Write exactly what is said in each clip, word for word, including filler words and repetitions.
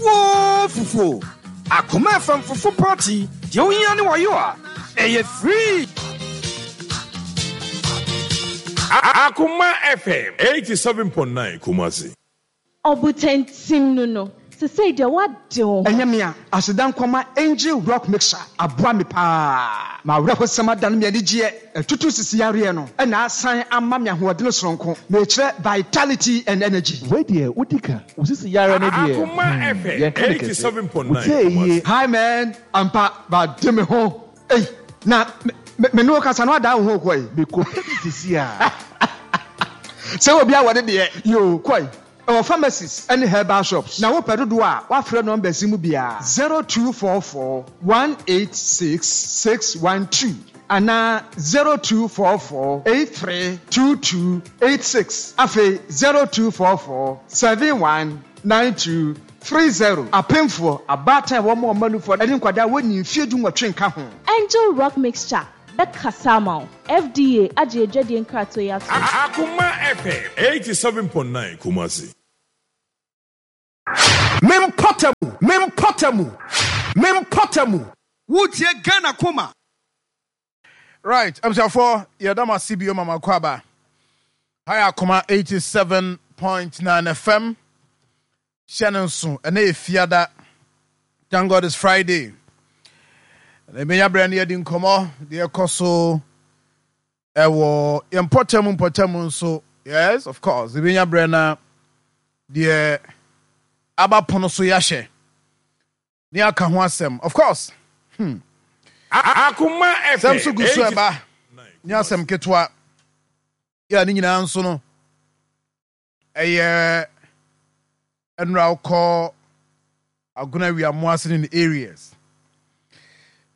Fufuo fufuo. Akoma F M fufu party deɛ wohia ne wɔyɔ a ɛyɛ free. Akoma F M eighty-seven point nine Kumasi. Ɔbotantim no no sesei deɛ woade wo ho. Ɛnyɛ mea aseda nkɔma Angel Rock Mixture aboa me paa ma awerɛhosɛm adane me anigyeɛ ɛtutu sisi yareɛ no ɛna asan ama me ahoɔdene soronko mekyerɛ vitality and energy. Wei deɛ wodi ka wo sisi yare no deɛ. Akoma hmm, F M yɛnka ne kɛse eighty-seven point nine wotie yie. Kumasi. Hi man, ampa bade me ho ei na me me ne wo kasa no adaa wo ho kɔe. Mekɔpɛ bi sisi a. Sɛ obi awɔ ne deɛ yo kɔe ɛwɔ pharmacies ne herbal shops na wopɛ dodoɔ a woafrɛ numbers yi mu biara zero two four four one eight six six one two anaa zero two four four eight three two two eight six, afei zero two four four seven one nine two three zero. Apemfoɔ, abaatan a wɔn ɔma nufoɔ ne nkwadaa wɔnni mfeɛ du nwɔtwe nka ho. Angel Rock Mixture bɛkasa ama wo. F D A agye adwadie nkratoɔ yi ato. Akoma F M eighty-seven point nine Kumasi. Mempɔtamu, mempɔtamu, mempɔtamu. Wotie Ghana Koma. Right, abusuafoɔ, yɛda mo ase bio mama kɔ aba. Ha yɛ Akoma eighty-seven point nine F M. Hyɛ no nso, ɛnɛ yɛ Fiada. Thank God it's Friday. Na ebenya berɛ no yɛdi nkɔmmɔ deɛ ɛkɔ so ɛwɔ yɛn mpɔtam mpɔtam nso. Yes, of course, ebenya berɛ na deɛ aba pono so yɛahyɛ ne aka ho asɛm. Of course. Hmm. Akoma Sɛm F M so gu so ɛba ne asɛm ketewa. Yɛ ne nyinaa nso no ɛyɛ nnura wokɔ Agona Wiamoase ne ne areas.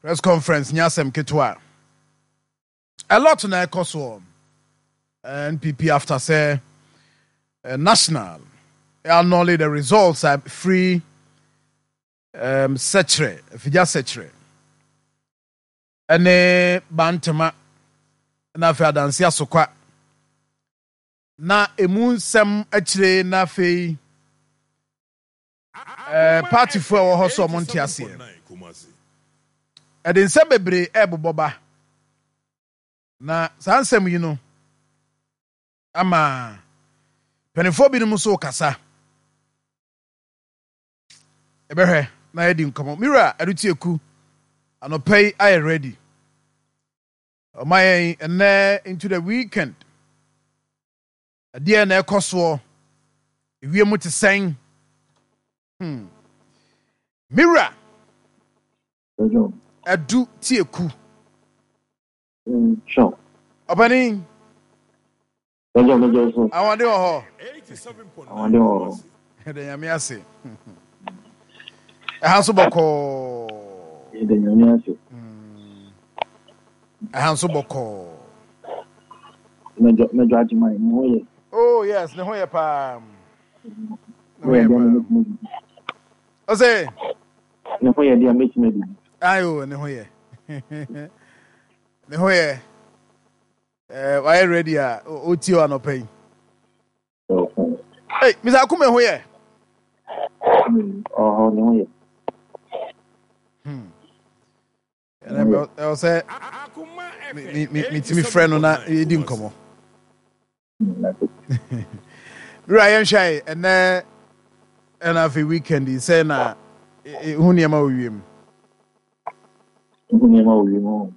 Press conference nyɛ asɛm ketewa. A lot na ɛkɔ soɔ. N P P after sɛ uh, national annul the results are free um, Sɛkyerɛ, Afigya Sɛkyerɛ ɛne Bantama na afei Adanse Asokwa na emu nsɛm akyire na afei eh, partyfoɔ a ɛwɔ hɔ sɛ ɔmo nte aseɛ. Kumasi. Ɛde nsɛm bebree ɛrebobɔ ba na saa nsɛm yi no ama mpanimfoɔ binom nso kasa. Ɛbɛhwɛ na yɛdi nkɔmmɔ. Mira Adutieku anɔpa yi ayɛ ready ɔma yɛn ɛnɛ into the weekend. Ɛdeɛ na ɛkɔ soɔ ewiem te sɛn hmm. Mira Adu Tieku. Sure. Ɔpanin. Mɛjọ mɛjọ so. Ahoɔden wɔ hɔ? eighty-seven point nine Ahoɔden wɔ hɔ. Kumasi. Ɛdɛ Nyame ase, ɛha nso bɔkɔɔ. Yɛda Nyame ase. Ɛha nso bɔkɔɔ. Mɛjọ mɛjọ Agyeman ne ho yɛ. Oh yes, ne ho yɛ paa. Ne Ne ho ho yɛ yɛ deɛ paa. mɛtumi adidi. Ɔsɛ Ne ho yɛ deɛ mɛtumi adidi. Ayo, ne ho yɛ, ne ho yɛ. ɛɛ wayɛ ready a ɔtie wɔ anɔpa yi. Hey, Mister Akume ho yɛ? Ɔhɔ, ne ho yɛ. Hmm. Ɛnɛ ɛwɔ sɛ me me metumi frɛ no na yɛdi nkɔmmɔ. Wura, yɛnhwɛ ɛnɛ ɛna afei weekend yi sɛ na hu nneɛma wɔ wiem. Hu nneɛma wɔ wiem o.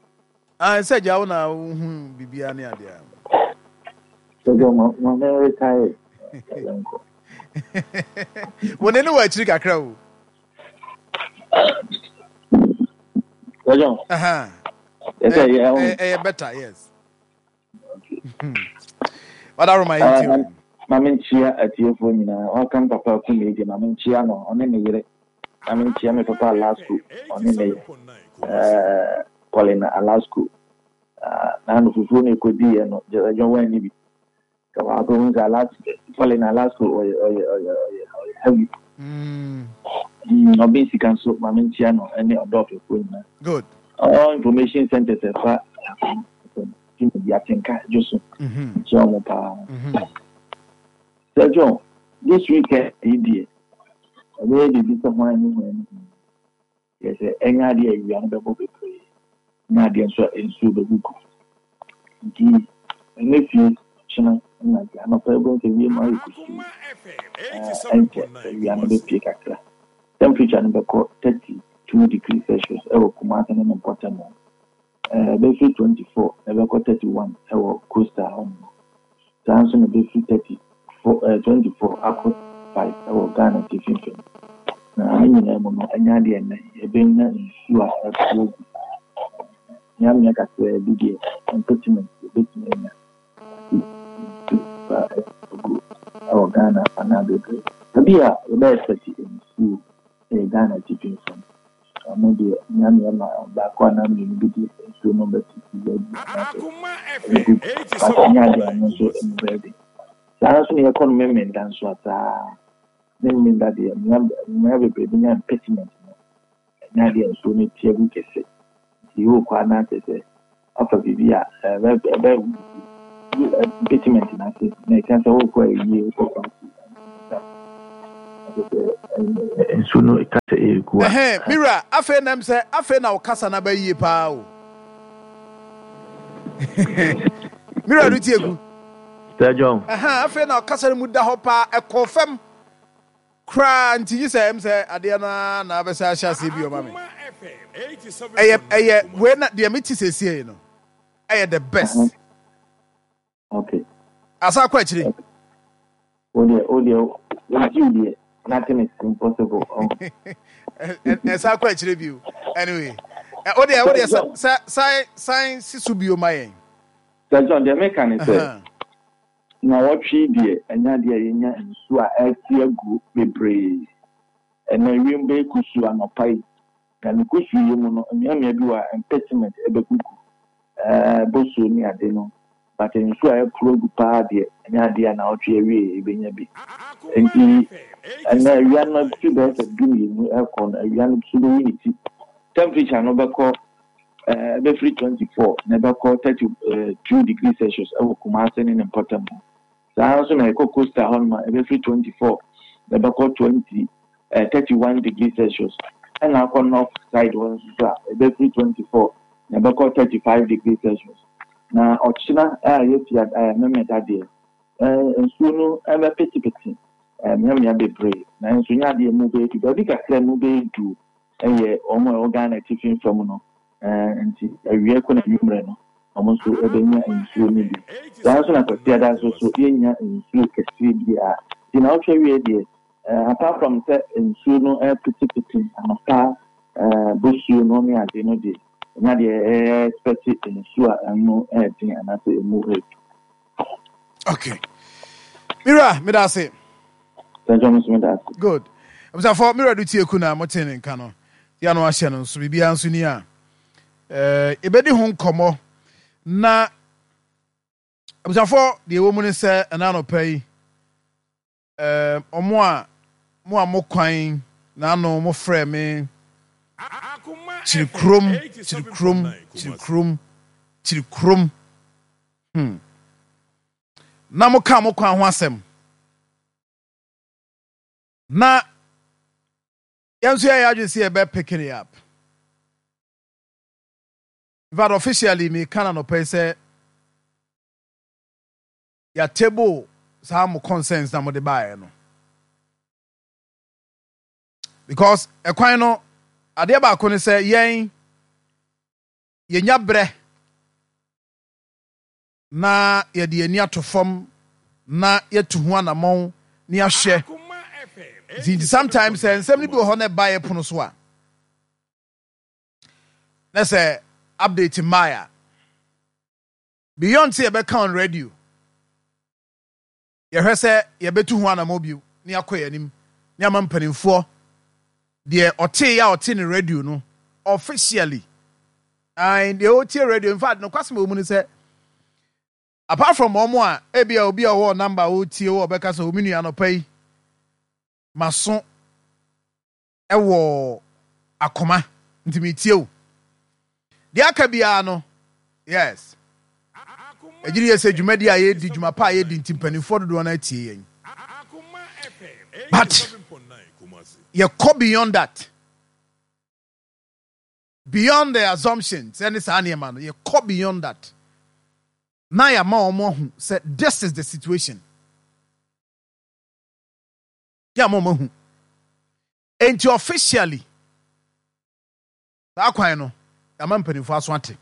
Ah, sɛ gya wo na wohu biribiara ne adeɛ a. Sɛ ma ma me retire yɛnkɔ. Wo ne ne wɔ akyiri kakra o. Sɛjɔ. Aha. Yɛsɛ yɛ. Ɛyɛ better, yes. Wadaroma yi ti o. Ma me nkyia atiefoɔ nyinaa. Waka m papa Akume deɛ, ma me nkyia no ɔne ne yere. Ma me nkyia me papa Alasco ɔne ne yere ɛɛ Paulina Alasco. Naanu fufuo no ekodiiɛ no gyɛdɛdwɔn wɔn bi. Ka baako ho sɛ Alasco, Paulina Alasco ɔyɛ ɔyɛ ɔyɛ ɔyɛ ɔyɛ heavy. Mm. Ɔbɛn sika nso, ma me nkyia no ɛne ɔdɔɔfɛfoɔ nyinaa. Good. All information centers ɛfa dwumadi atenka dwo so. Nkyia wɔn paa. Sir John, this weekend yi deɛ, Ɛbɛyɛ biribi sɛ hwan ne hwan ne hwan. Kyerɛ sɛ ɛnyɛ adeɛ a awia no bɛbɔ bebree, ɛnyɛ adeɛ nso a nsuo bɛgugu. Nti ɛnnɛ fie ɔkyena na nti anɔpa yi wobɛhu sɛ wiem ayɛ kusuu. Ɛnkyɛ awia no bɛpue kakra. Temperature no bɛkɔ thirty two degrees Celsius ɛwɔ Kumasi ne ne mpɔtam hɔ. Ɛbɛfiri twenty four na ɛbɛkɔ thirty one ɛwɔ coastal hɔ nom. Saa nso na ɛbɛfiri thirty four ɛɛ twenty four akɔ five ɛwɔ Ghana atifi fam. Na ne nyinaa mu no, ɛnyɛ adeɛ nnɛ yɛbɛnya nsuo a ɛpo agu. Mmeammea kakraa bi deɛ mpɛtimɛnti yɛbɛtumi anya nsuo a ɛgu ɛwɔ Ghana anaa bebree. Baabi a yɛbɛ expect nsuo ɛyɛ Ghana atifi fam. Ɔno deɛ mmeammea ma baako anaa mmienu bi deɛ nsuo no bɛtete baabi anaasɛ ɛbɛgugu. But ɛnyɛ adeɛ a ɛno nso ɛmu bɛyɛ den. Saa nso na yɛkɔ no Memenda nso a saa. Memenda deɛ mmea bebree bɛnya impediment no. Ɛnyɛ adeɛ a nsuo no ti agu kɛse. Nti wokɔ a na kyerɛ sɛ wafa biribi a ɛbɛ ɛbɛ impediment no ase na ɛka sɛ wokɔ ayie wokɔ party. Nsuo no ka sɛ ɛregu a. Ɛhɛn, me wura, afei na ɛm sɛ afei na wo kasa no aba yie paa o. Me wura no tie gu. Sir John. Ɛhɛn, afei na ɔkasa no mu da hɔ paa, ɛkɔɔ fam koraa nti gye sɛ ɛm sɛ adeɛ no ara na abɛsɛ ahyɛ aseɛ bio ma me. Ɛyɛ ɛyɛ wei na deɛ mete seesei no ɛyɛ the best. Okay. Asa akɔ akyire. O deɛ o deɛ o gyi deɛ nothing is impossible. Oh. Ɛsa akɔ akyire bio. Anyway, o deɛ o deɛ sa san san si so bio ma yɛn. Sir John, deɛ meka ne sɛ na wɔtwe deɛ ɛnyɛ adeɛ a yɛnya nsuo a ɛte agu bebree. Ɛnna wiem bɛyɛ kusuu anɔpa yi. Na ne kusuu yi mu no, mmeammea bi wɔ a impediment ɛbɛgugu. Ɛɛ bosuo ne ade no. But nsuo a ɛporo agu paa deɛ ɛnyɛ adeɛ a naawɔtwe awie yɛbɛnya bi. Nti ɛnɛ awia no fi bɛyɛ sɛ du mmienu ɛkɔ no, awia no so bɛyi ne ti. Temperature no bɛkɔ ɛɛ ɛbɛfiri twenty four na ɛbɛkɔ thirty two degrees Celsius ɛwɔ Kumasi ne ne mpɔtam hɔ. Saa nso na ɛkɔ coastal hɔ nom a ɛbɛfiri twenty four na ɛbɛkɔ twenty ɛɛ thirty one degrees Celsius. Ɛna akɔ north side hɔ nso so a ɛbɛfiri twenty four na ɛbɛkɔ thirty five degrees Celsius. Na ɔkyena a yɛfia ɛɛ Memeda deɛ ɛɛ nsuo no ɛbɛpetepete ɛɛ mmeammea bebree na nso nyɛ adeɛ mu bɛyɛ du baabi kakra mu bɛyɛ du ɛyɛ wɔn a ɛwɔ Ghana atifi fam no ɛɛ nti awia kɔ na anwummerɛ no wɔn nso ɛbɛnya nsuo no bi. Saa nso na Kwasiada nso so yɛnya nsuo kɛseɛ biara. Nti na ɔtwe awie deɛ ɛɛ apart from sɛ nsuo no ɛpetepete anɔpa ɛɛ bosuo no ne ade no deɛ ɛnyɛ adeɛ ɛyɛ expect nsuo a ɛno ɛɛden anaasɛ emu ɛɛdu. Okay. Mira, meda ase. Sir John nso meda ase. Good. Abusuafo, Mira do tie ku na mote ne nka no. Ya no ahyɛ no nso biribiara nso ni a. Eh, yɛbɛdi ho nkɔmmɔ na abusuafo deɛ ɛwɔ mu ne sɛ ɛna anɔpa yi eh, ɔmo a mo a mo kwan na ano mo frɛ me kyirikurom kyirikurom kyirikurom kyirikurom hmm. Na mo ka mo kwan ho asɛm na yɛn nso yɛyɛ adwene sɛ yɛbɛ pick it up. In fact, officially me ka na anɔpa yi sɛ yɛatable saa mo concerns na mode baeɛ no because ɛkwan no adeɛ baako ne sɛ yɛn yɛnya berɛ na yɛde ani ato fam na yɛtu ho anammɔn na yɛahwɛ nti sometimes sɛ nsɛm no bi wɔ hɔ na ɛba yɛ pono so a na sɛ update mmaa a beyond sɛ yɛbɛka on radio yɛhwɛ sɛ yɛbɛtu ho anammɔn bio na yɛakɔ yɛn anim na ama mpanimfoɔ deɛ ɔtee a ɔte ne radio no officially and deɛ ɔtie radio in fact nokwasɛm a ɛwɔ mu ne sɛ apart from wɔn a ebi a obi a ɔwɔ number a ɔretie wɔ ɔbɛka sɛ omi nua anɔpa yi maso ɛwɔ akoma nti metie o deɛ aka biara no yes ɛgyiri yɛ sɛ dwumadi a yɛdi dwuma pa a yɛdi nti mpanimfoɔ dodoɔ no atie yɛn But yɛkɔ beyond that, beyond the assumptions ɛne saa nneɛma no, yɛkɔ beyond that na yɛama wɔn ahu sɛ this is the situation. Yɛama wɔn ahu. Enti officially saa kwan no, yɛama mpanimfoɔ aso ate.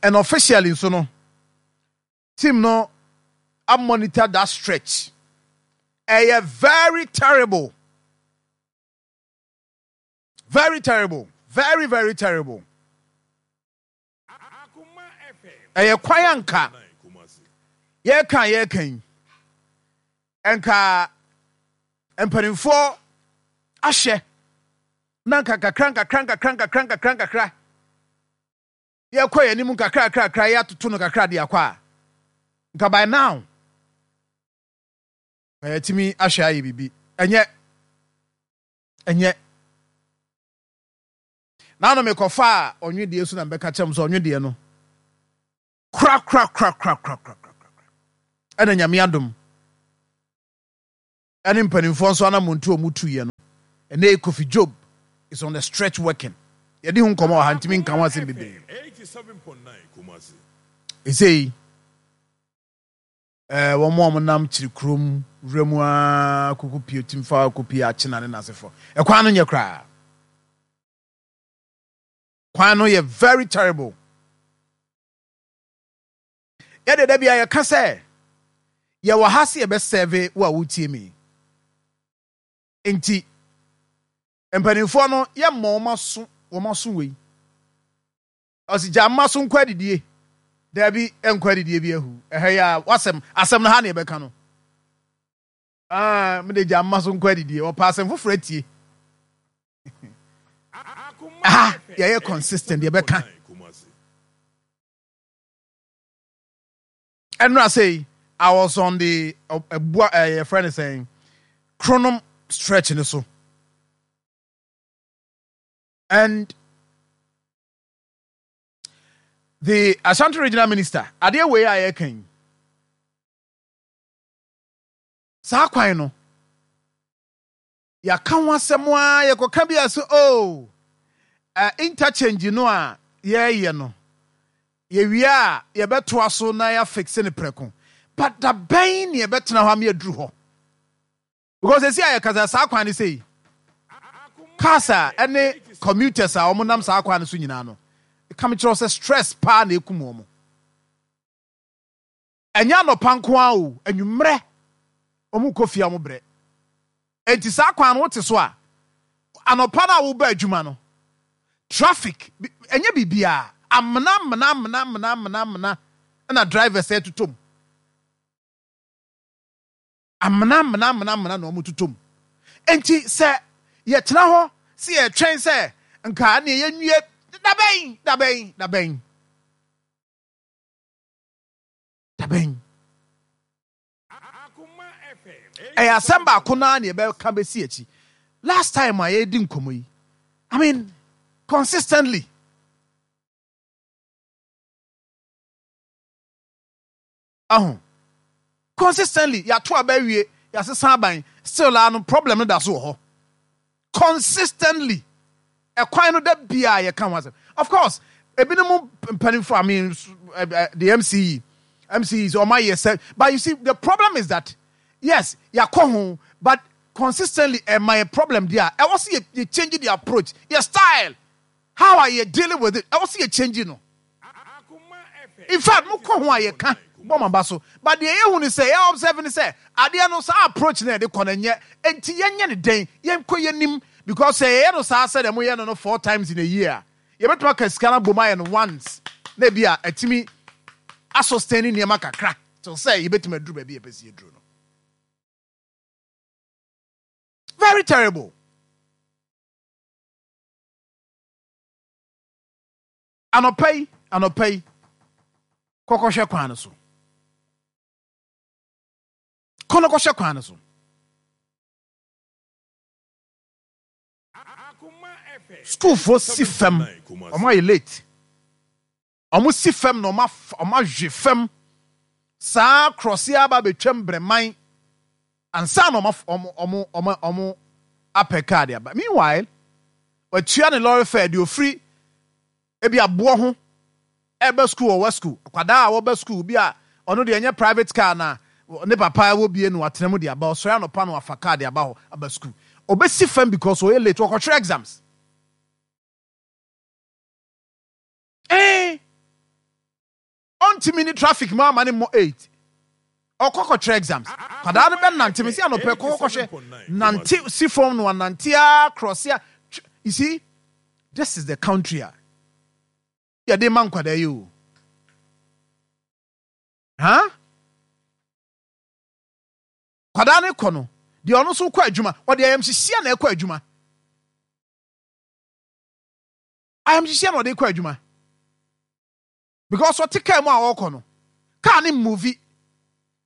And officially nso no, team no a monitor that stretch. Ɛyɛ very terrible, very terrible, very very terrible. Ɛyɛ kwan anka yɛka yɛka yi, nka mpanimfoɔ ahyɛ na nka kakra nkakra nkakra nkakra nkakra nkakra, yɛkɔ yɛn anim nkakra nkakra nkakra, yɛatoto no kakra de akɔ a, nka by now na yɛtumi ahwɛ ayɛ biribi. Ɛnyɛ ɛnyɛ naano mekɔfa a ɔnwedeɛ so na mbɛka kyerɛ m sɛ ɔnwedeɛ no kora kora kora kora kora kora kora. Ɛna Nyame adom ɛne mpanimfoɔ nso anamontu a ɔmo tuyɛ no, ɛnɛ Kofi Job is on the stretch working. Yɛde ho nkɔmɔ wɔ ha, ntumi nka ho asɛm bebree. Ɛsei ɛɛ wɔn a wɔnam kyiri kurom wura mu aa koko pie tim fa koko pie akyena ne n'asefo, ɛkwan no nyɛ koraa. Kwan no yɛ very terrible. Yɛde da bi a yɛka sɛ yɛwɔ ha sɛ yɛbɛsɛve wo a wotie mi, nti mpanimfoɔ no, yɛmmɔ wɔn aso, wɔn aso wei ɔsi gya mma so nkɔ adidie. Daabi, nkɔ adidie bi ahu ɛhɛ yi a wasɛm asɛm no ha na yɛbɛka no. Aa, mede gya mma so nkɔ adidie, ɔpɛ asɛm foforɔ atie. Aha yɛyɛ consistent, yɛbɛka. Ɛnura sɛ I was on the ɛbua ɛyɛ yɛfrɛ no sɛn, Kronom stretch ne so, and the Ashanti Regional Minister, adeɛ wei a yɛka yi, saa kwan no yɛaka ho asɛm a yɛkɔka bi a sɛ oh, uh, interchange no a yɛreyɛ no, yɛwie a yɛbɛtoa so na yɛafixe ne prɛko. But da bɛn ne yɛbɛtena hɔ ama yɛaduru hɔ? Because esi a yɛkasa saa kwan no sei, cars a ɛne commuters a wɔnam saa kwan no so nyinaa no, ka me kyerɛ sɛ stress paa na ekum wɔn. Ɛnyɛ anɔpa nko ara o, anwummerɛ wɔn kɔ fie a, wɔn brɛ. Eti saa kwan no wote so a, anɔpa no a woba adwuma no, traffic ɛnyɛ biribiara, amena amena amena amena amena amena ɛna drivers ɛtotɔ mu, amena amena amena amena na wɔn totɔ mu. Nti sɛ yɛtena hɔ sɛ yɛtwɛn sɛ nka ne yɛnwie dabɛn dabɛn dabɛn dabɛn, ɛyɛ asɛm baako naa ne yɛbɛka bɛsi akyi. Last time a yɛdi nkɔmmɔ yi, I mean, consistently aho, consistently yɛato aba awie, yɛasesa aban, still a no problem no da so wɔ hɔ. Consistently ɛkwan no da bia yɛka ho asɛm. Of course, ebinom mpanimfo, I mean, uh, the M C E M C Es ɔmo ayɛ sɛ, but you see, the problem is that yes, yɛakɔ ho, but consistently ɛma yɛ problem deɛ a ɛwɔ sɛ yɛ yɛ change the approach, yɛ style, how are you dealing with it, ɛwɔ sɛ yɛ change no. In fact, mo kɔ ho a yɛka bɔ ma ba so, but deɛ yɛhu ni sɛ yɛ observe ni sɛ adeɛ no, saa approach na yɛde kɔ no nyɛ. Nti yɛnyɛ ne den, yɛnkɔ yɛnim, because sɛ yɛyɛ no saa sɛ deɛ moyɛ no no four times in a year a, yɛbɛtumi aka sika no abom ayɛ no once na ebi a ɛtumi asustain nneɛma kakra till sɛ yɛbɛtumi aduru baabi a yɛpɛ sɛ yɛduru no. Very terrible. Anɔpa yi, anɔpa yi, kɔkɔhwɛ kwan no so, kɔ no kɔhwɛ kwan no so. Sukuufoɔ si fam, ɔmo ayɛ late, ɔmo si fam na ɔmo af ɔmo ahwe fam saa krɔse aba abɛtwam brɛman. Ansa na ɔmo ɔmo ɔmo ɔmo ɔmo apɛ kaa de aba. Meanwhile, watua ne lorry fare de ofiri ebi aboɔ ho ɛbɛ school, ɔwɔ school. Akwadaa a wɔbɛ school bi a, ɔno deɛ ɛnyɛ private car na ne papa wɔ bie no, watena mu de aba. Ɔsɔre anɔpa no, wafa car de aba hɔ aba school. Ɔbɛsi fam because ɔyɛ late, wɔkɔtwerɛ exams. Ɛɛ ɔntumi ne traffic mu ama ne mmɔ eight, ɔkɔ kɔtwerɛ exams. Kwadaa no bɛ nante, mesi anɔpɛ kɔ kɔhwɛ, nante si fam no, anante a cross a. You see, this is the country a yɛde ma nkwadaa yi o. Ha kwadaa no kɔ no deɛ, ɔno nso kɔ adwuma, ɔde ayamhyehyeɛ na ɛkɔ adwuma, ayamhyehyeɛ na ɔde kɔ adwuma, because ɔte kaa mu a ɔrekɔ no, kaa ne move,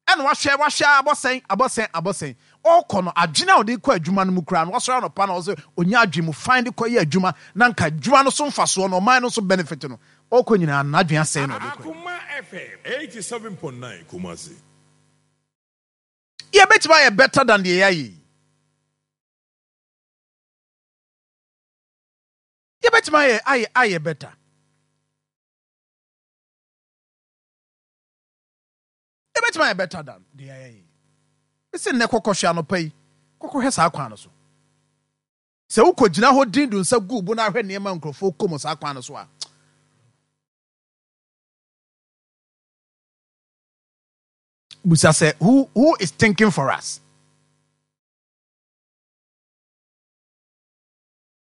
ɛna wahwɛ wahwɛ abɔsɛn abɔsɛn abɔsɛn. Ɔrekɔ no, adwene a ɔde kɔ adwuma no mu koraa no, wasɔre anɔpa na ɔsɛ onya adwene mu fine de kɔ yɛ adwuma, na nka adwuma no so mfasoɔ no, ɔman no so benefit no, ɔrekɔ nyinaa n'adwene asɛn na ɔde kɔ. Akuma F M eighty-seven point nine Kumasi. Yɛbɛtumi ayɛ better than deɛ yɛayɛ yi. Yɛbɛtumi ayɛ ayɛ ayɛ better. Yɛbɛtumi ayɛ better than deɛ yɛayɛ yi. Ɛsɛ nnɛ kɔkɔhwɛ anɔpa yi, kɔkɔhwɛ saa kwan no so. Sɛ wokɔ gyina hɔ din do nsa gu bo na ahwɛ nneɛma nkurɔfoɔ kɔ mu saa kwan no so a, busa sɛ who who is thinking for us?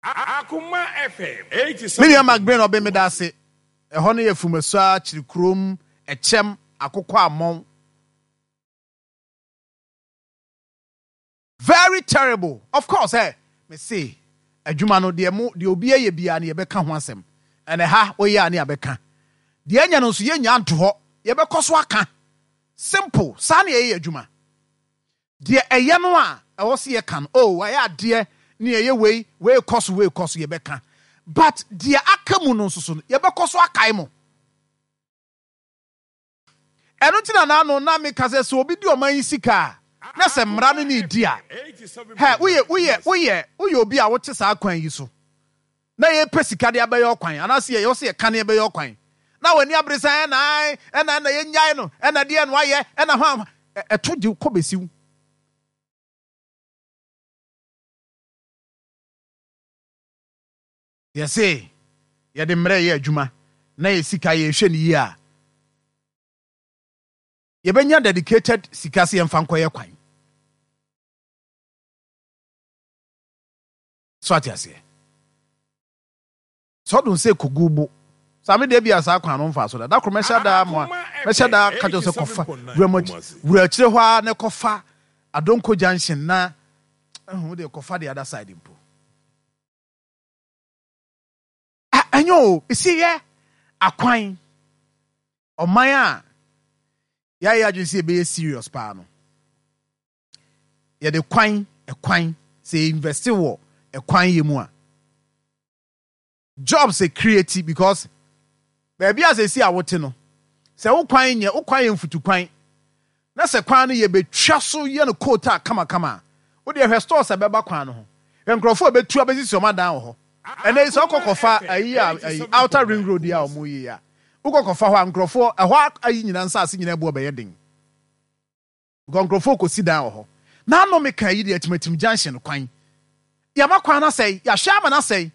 Akuma F M Me nua eighty-seven point nine McBrain ɔbɛn mi da ase. Ɛhɔ no yɛ Fumasua, Kyiri kurom, Ɛkyɛm, Akokɔ Amɔn. Very terrible. Of course, eh me se adwuma no deɛ, mo deɛ obi ayɛ biara no, yɛbɛka ho asɛm. Ɛnɛ ha woyɛ a ne yɛbɛka deɛ ɛnyɛ no nso, yɛnya nto hɔ, yɛbɛkɔ so aka. Simple, saa ne yɛyɛ adwuma. Deɛ ɛyɛ no a ɛwɔ sɛ yɛka no, oh, wayɛ adeɛ ne ɛyɛ wei, wei kɔ so, wei kɔ so, yɛbɛka. But deɛ aka mu no nso so no, yɛbɛkɔ so akae mo. Ɛno nti na naano na meka sɛ sɛ obi di ɔman yi sika a, na sɛ mmara no ne di a, hɛ, woyɛ woyɛ woyɛ woyɛ obi a wote saa kwan yi so na yɛpɛ sika de abɛyɛ ɔkwan, anaasɛ yɛyɛ sɛ yɛka ne yɛbɛyɛ ɔkwan, na w'ani abere sɛ ɛna ɛna ɛna yɛnyae no, ɛna deɛ no ayɛ ɛna hɔ a ɛto gye kɔ bɛsiw. Yɛse yɛde mmerɛ yɛ adwuma na yɛ sika yɛhwɛ no yie a, yɛbɛnya dedicated sika sɛ yɛmfa nkɔyɛ kwan so. Ate aseɛ sɛ ɔdo sɛ kogu bo saa me deɛ bi a saa kwan no mfa so da da koro. Mɛhyɛ daa mo a, mɛhyɛ daa ka kyerɛ sɛ kɔfa wura mu, wura akyire hɔ a, na kɔfa Adonko Junction na ɛho deɛ, kɔfa the other side mpo. Ɛnyɛ o, esi yɛ akwan. Ɔman a yɛayɛ adwene sɛ yɛbɛyɛ serious paa no, yɛde kwan, ɛkwan sɛ invest wɔ ɛkwan yɛ mu a, jobs ɛ create, because baabi a sɛsi a wote no, sɛ wo kwan nyɛ, wo kwan yɛ mfutu kwan, na sɛ kwan no yɛbɛtwa so yɛ no coal tar kamakama a, wode ɛhwɛ stores a ɛbɛba kwan no ho, hwɛ nkurɔfoɔ a bɛtu abɛsisi ɔmo adan wɔ hɔ. Ɛnɛ yi sɛ wokɔ kɔfa ayi a, ayi Outer Ring Road yi a ɔmo yi a, wokɔ kɔfa hɔ a, nkurɔfoɔ ɛhɔ ayi nyinaa, nsaase nyinaa bu ɔbɛyɛ den because nkurɔfoɔ kɔsi dan wɔ hɔ. N'ano meka yi deɛ, Atimatim Junction kwan, yɛama kwan no asɛe, yɛahwɛ ama no asɛe.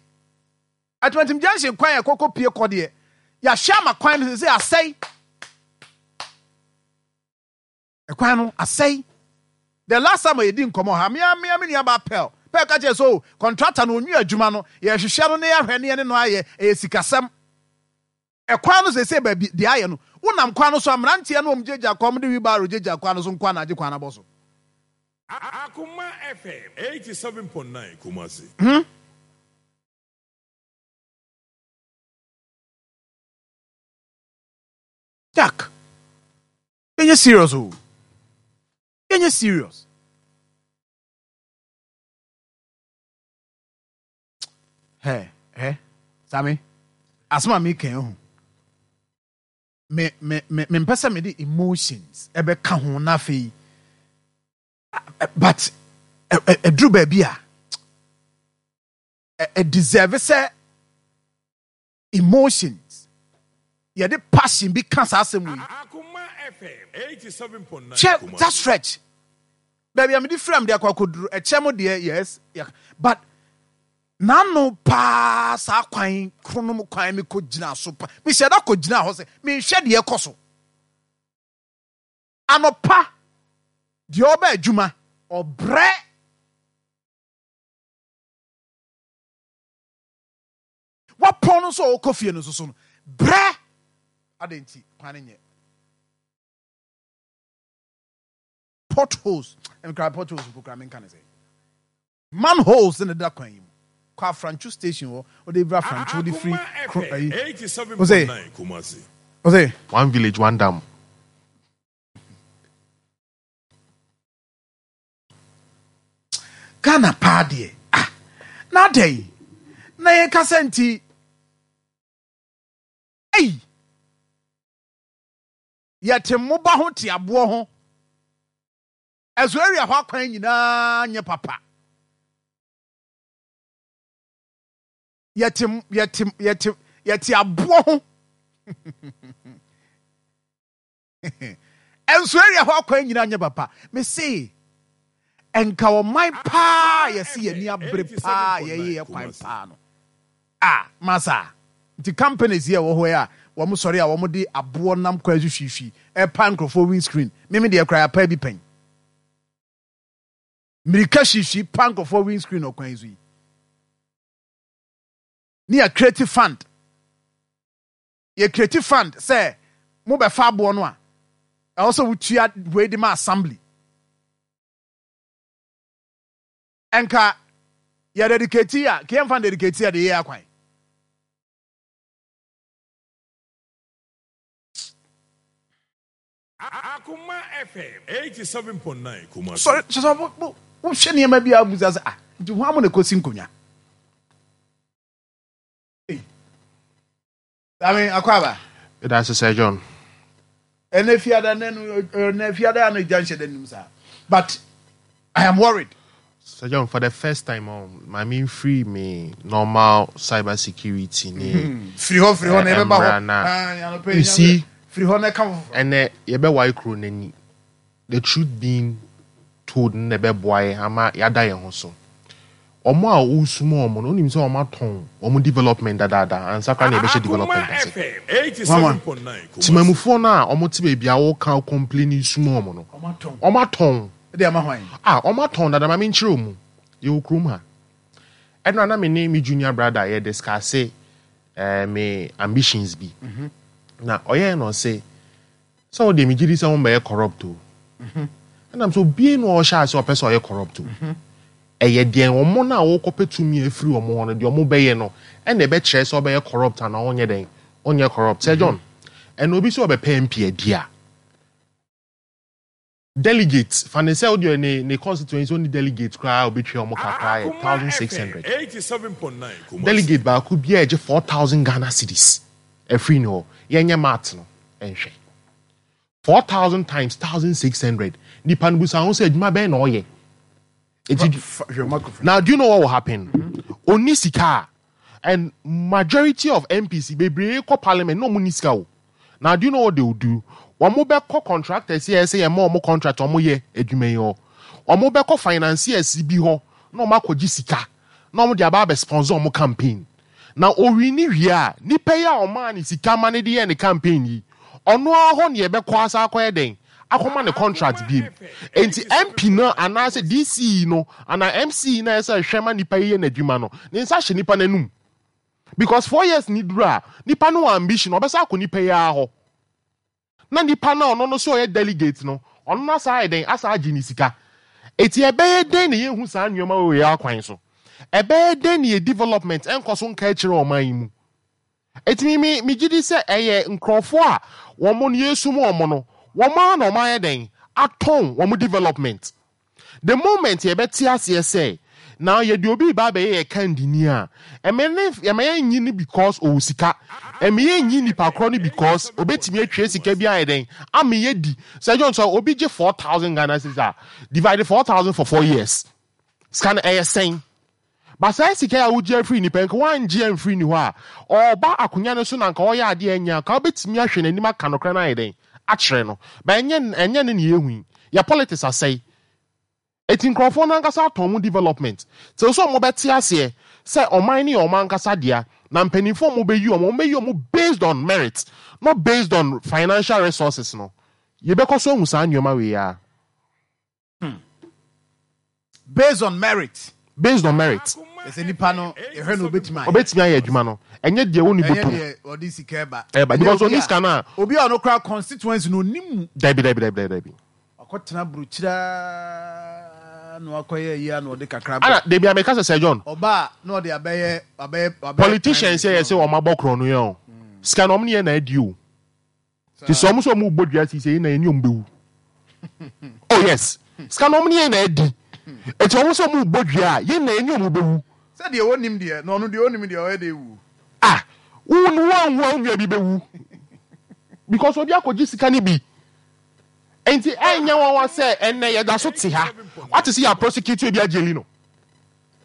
Atimatim Junction kwan a ɛkɔkɔ pie kɔ deɛ, yɛahwɛ ama kwan no sɛ asɛe. Ɛkwan no asɛe. The last time a yɛdi nkɔmmɔ ha, mea mea me nua ba Pɛl Pɛl ka kyerɛ sɛ o contractor no onwi adwuma no, yɛhwehwɛ no ne yɛahwɛ ne yɛne no ayɛ. Ɛyɛ sikasɛm. Ɛkwan no sɛ sɛ baabi deɛ ayɛ no, wonam kwan no so a, mmeranteɛ no wɔn gyegya kwan de wheelbarrow gyegya kwan no so nkwa na agye kwan abɔ so. Akuma F M eighty-seven point nine Kumasi. Hmm? Jack, yɛnyɛ serious o, yɛnyɛ serious. Hɛ hɛ, Sami, asɛm a meka ho, me me me mempɛ sɛ mede emotions ɛbɛka ho, na afei But ɛduru baabi a ɛ deserve sɛ emotions, yɛde passion bi ka saa asɛm yi. Hwɛ that stretch baabi a mede fira, mede akɔ akɔduru ɛkyɛ mo deɛ, yes, but n'ano paa saa kwan kronom kwan mi kɔ gyina so pa, mehyɛ da kɔ gyina hɔ sɛ mehwɛ deɛ ɛkɔ so anɔpa deɛ ɔba adwuma ɔbrɛ. Wapɔn no nso a ɔkɔ fie no nso so no brɛ ade nti kwan no nyɛ potholes, nkra potholes mpo kra menka ne sɛ manholes ne da kwan yi mu kɔ Afrancho station hɔ, ɔde bra Afrancho de firi kro ayi ɔsɛ ɔsɛ One village, one dam. Ghana paa deɛ, ah, na adɛn na yɛn kasa nti ei yɛte mmoba ho te aboɔ ho? Ɛso area hɔ akwan nyinaa nyɛ papa. Yɛte yɛte yɛte yɛte aboɔ ho. Ɛnso area hɔ akwan nyinaa nyɛ papa. Mese nka ɔman paa yɛsi yɛn ani abere paa, yɛyɛ yɛ kwan paa no a masa nti companies yɛ wɔ hɔ yi a wɔn sɔre a wɔn de aboɔ nam kwan so hwihwi ɛpa nkurɔfoɔ windscreen. Mímí deɛ kora yɛapa bi pɛn mirika hwihwi pa nkurɔfoɔ windscreen ɔkwan so yi ne yɛ create fund, yɛ create fund sɛ mo bɛfa aboɔ no a ɛwɔ sɛ wotua wei de ma assembly. Nka yɛ dedicate a kìí yɛn dedicate a de yɛ akwan. Akuma F M eighty-seven point nine Kumasi. Sɔre sɔsɔ wo wohwɛ nneɛma bi a abusa sɛ, ah, nti ho amu na ekosi nkonnwa. Sami akɔ aba. Ɛda ase, Sir John. Ɛnɛ fiada nɛ no, ɛnɛ fiada ano gya nhyɛ dɛ nim saa, but I am worried. Sir John, for the first time, um, I mean, free me normal cyber security ne. Firi hɔ, firi hɔ na yɛbɛba hɔ. Mmra na- Ah, anɔpa yi You see, firi hɔ na ɛka foforɔ. Ɛnɛ yɛbɛwae kuro n'ani. The truth being told no na ɛbɛboa yɛ ama yɛada yɛn ho so. Ɔmo a wosum ɔmo no, onim sɛ ɔmo atɔn ɔmo development dadaada ansa koraa na yɛbɛhyɛ development Akuma ase. F M eighty-seven point nine Kumasi. Temamufoɔ no a ɔmo te baabi a wɔka complain sum ɔmo no, ɔmo atɔn. Ɔmo atɔn. Ɛde ama hwan? A ɔmo atɔn dada. Ma menkyerɛ mu, yɛwɔ kurom ha. Ɛno na me ne me junior brother yɛ discuss eh, me ambitions bi na ɔyɛɛ no ɔse sɛ wode megye di sɛ wombɛyɛ corrupt o. Ɛnam sɛ obie na ɔhyɛ ase ɔpɛ sɛ ɔyɛ corrupt o, ɛyɛ deɛ ɔmo no a wɔkɔpɛ tumi afiri ɔmo hɔ no deɛ ɔmo bɛyɛ no ɛna ɛbɛkyerɛ sɛ ɔbɛyɛ corrupt anaa ɔnyɛ dɛn, ɔnyɛ corrupt. Sɛ John, ɛna obi sɛ ɔbɛpɛ M P adi a, delegate fa ne sɛ wode ne ne constituency ɔne delegate koraa a obɛtwa ɔmo kakra yɛ Akuma thousand six hundred. F M eighty-seven point nine Kumasi. Delegate baako biara gye four thousand Ghana cedis ɛfiri ne hɔ. Yɛnyɛ math no ɛnhwɛ, four thousand times thousand six hundred, nipa no busa ho sɛ adwuma bɛn na ɔyɛ eti. Fa- hwɛ microphone. Now, do you know what will happen? Oni sika a, and majority of M Ps bebree kɔ parliament na ɔmo ni sika o. Now, do you know what they will do? Wɔn bɛkɔ contractors yɛ sɛ yɛ ma ɔmo contract, ɔmo yɛ adwuma yi hɔ, ɔmo bɛkɔ financiers bi hɔ na ɔmo akɔgye sika na ɔmo de aba abɛ sponsor ɔmo campaign. Na owi ni wie a, nipa yi a ɔmaa ne sika ma ne de yɛ ne campaign yi, ɔno ara hɔ ne yɛbɛkɔ asa akɔyɛ dɛn, akɔma ne contract bi mu. Nti M P no anaasɛ D C no anaa M C no a ɛsɛ hwɛ ma nipa yi yɛ n'adwuma no, ne nsa hyɛ nipa n'anum because four years ni duru a, nipa no wɔ ambition ɔbɛsa akɔ nipa yi ara hɔ na nipa no a ɔno no so ɔyɛ delegate no, ɔno no asa ayɛ dɛn, asa agye ne sika. Eti ɛbɛyɛ dɛn na yɛhu saa nneɛma wɔ yɛ akwan so? Ɛbɛyɛ dɛn na yɛ development ɛnkɔ so nka akyerɛ ɔman yi mu? Eti mi mi mi gyi di sɛ ɛyɛ nkurɔfoɔ a wɔn no yɛsum wɔn no, wɔn ara na wɔn ayɛ dɛn atɔn wɔn development. The moment yɛbɛte aseɛ sɛ Na yɛde obi ba abɛyɛ yɛ kandini a, ɛmɛ ne ɛmɛ yɛn nyi no because ɔwɔ sika. Ɛmɛ yɛn nyi nipa korɔ no because obetumi atwa sika bi ayɛ dɛn ama yɛ di. Sɛ John, sɛ obi gye four thousand Ghana cedis a, divide four thousand for four years, sika no ɛyɛ sɛn? Ba saa sika a wogye afiri nipa, nka wangye amfiri ni hɔ a, ɔba akonnwa no so na nka ɔyɛ adeɛ ɛnyɛ a, nka wobɛtumi ahwɛ n'anim aka nokorɛ no ayɛ dɛn akyerɛ no. Ba ɛnyɛ ɛnyɛ ne ne yɛhu yi. Yɛ politics asɛe. Eti nkurɔfoɔ no ankasa atɔn mu development te sɛ ɔmo bɛte aseɛ sɛ ɔman ne yɛ ɔmo ankasa dea, na mpanimfoɔ ɔmo bɛyi ɔmo ɔmo bɛyi ɔmo based on merit, not based on financial resources no. Yɛbɛkɔ so ahu saa nneɛma wei a. Based on merit. Based on merit. Ɛsɛ nipa no yɛhwɛ no, obetumi ayɛ. Ɔbɛtumi ayɛ adwuma no, ɛnyɛ deɛ wɔn ni ɛnyɛ bɔtɔm. Deɛ ɔde sika ɛba. Ɛba because ɔni sika no a. Obi a ɔno kora constituency no onim mu. Dabi, dabi, dabi, dabi. Ɔkɔtena burukyira na wakɔyɛ yi a na ɔde kakra Ana debi ameka sɛ sɛ John. Ɔba a na ɔde abɛyɛ abɛyɛ abɛyɛ. Politicians yɛ sɛ ɔmo abɔ korɔ no yɛ o, sika na ɔmo ne yɛ na adi o. Ti sɛ ɔmo sɛ ɔmo bɔ dua sisi yi na yɛ ni ɔmo bɛwu. Oh yes, sika na ɔmo ne yɛ na adi, eti ɔmo sɛ ɔmo bɔ dua a, yɛn na yɛ ni ɔmo bɛwu. Sɛ deɛ onim deɛ na ɔno deɛ onim deɛ ɔyɛ de ewu. Ah, wo wo anwu a, wo nua bi bɛwu because obi akɔgye sika ni bi. Nti ɛnyɛ wɔn wa sɛ ɛnɛ yɛda so te ha wate sɛ yɛ prosecute obi agyeli no.